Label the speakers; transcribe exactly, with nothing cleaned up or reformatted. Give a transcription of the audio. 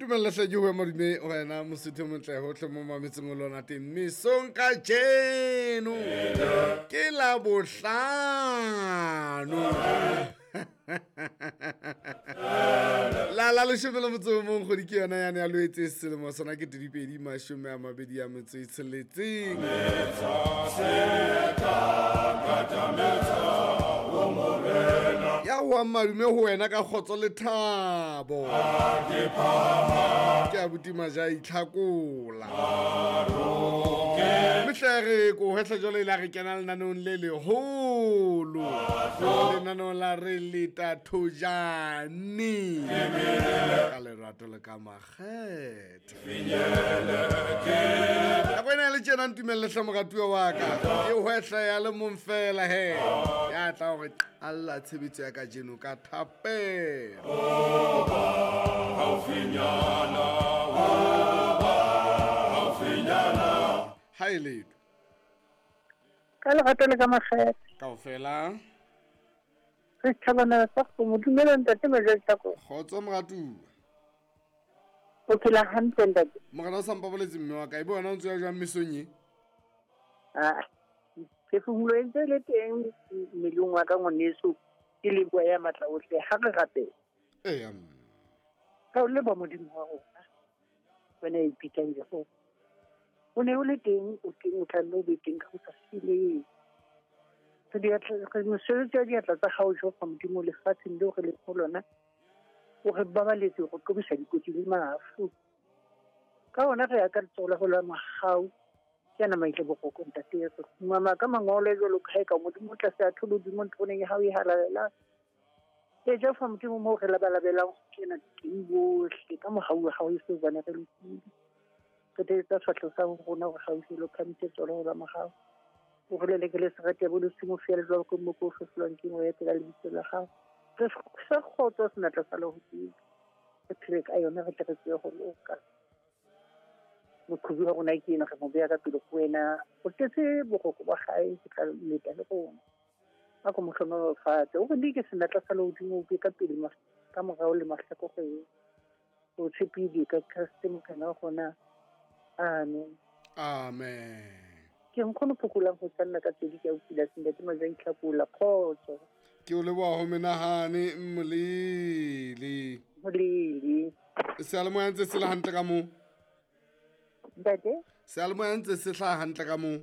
Speaker 1: Ntumella hle ke ho madume wena Mosotho motle hohle mo mametseng o lona teng mesong kajeno ke la bohlano la la leshome le motso o mong kgwedi ke yona yane ya Loetse selemo sona ke dipedi mashome a mabedi a metso e tsheletseng. Ya wa madume ho wena ka kgotso le thabo. Ke abuti Maja itlhakola. Mehle re ko hwehla jwale ile re kena lenaneong le leholo. Lenaneong la re leta thojane. Ka lerato le ka makgethe. Nako ena le tjena ntumelle hle moratuwa wa ka. E hwehla ya le mong fela he. Ya tla hore alla tshebetso ya kajeno ka thapelo. Ha e letho.
Speaker 2: Ka lerato le ka makgethe.
Speaker 1: Kaofela.
Speaker 2: Re thabana sa go mo dumela ntate Maja Tlhako.
Speaker 1: Kgotso moratuwa.
Speaker 2: O phela hantle ntate.
Speaker 1: Morena o sa mpaboletse mme wa ka e bona o ntse ya jwang mesong e?
Speaker 2: Ah. Phefumolo e ntse le teng mmeleng wa ka ngwaneso ke leboha ya matla ohle ha re rapela.
Speaker 1: Eya.
Speaker 2: Ka o leboha Modimo wa rona. Wena e ipitsang Jehova. O ne o le teng o teng o tla nne o be teng ka ho sa feleng. Re diatla re mosebetsi wa diatla tsa hao Jehova Modimo lefatsheng leo re leng ho lona. O re babaletse go qobisa dikotsi le mafu. Ka hona re ya ka letsoho la ho la mohau. Ke ana maitle bokoko ntate re mama ka mangolo jwalo ka hae ka Modimo tlase a tholo Modimo ntloneng ya hao e halalelang. E Jehova Modimo mo re labalabelang ho kena teng bohle ka mohau wa hao e se bana re lokile. Re tsetsa tshwahlo sa rona hore haufi lo phamise tsolo ho la mohau. O re lelekele serati ya bolosimo feela jwalo ka moko o fefolwang ke moya pela lebitso la hao. Re sa kgotso senatla sa lehodimo. Re phele ka yona re tle re tsebe ho loka. Moqhobi wa rona ke ena re mo beha ka pele ho wena. O tletse boroko ba hae ke tla leta le rona. A ko mo hlohonolofatse. O re dike senatla sa lehodimo o be ka pele ka morao le mahlakoreng. O tshepile ka Kreste Morena wa rona. Amen.
Speaker 1: Amen.
Speaker 2: Ke nkgono phokolang ho tsanna ka tsedi ke a utlwile ntate Maja Itlhakola kgotso.
Speaker 1: Ke o leboha ho menahane Molele.
Speaker 2: Molele.
Speaker 1: Seyalemoya ntse se le hantle ka moo?
Speaker 2: Ntate?
Speaker 1: Seyalemoya ntse se hlaha hantle ka moo?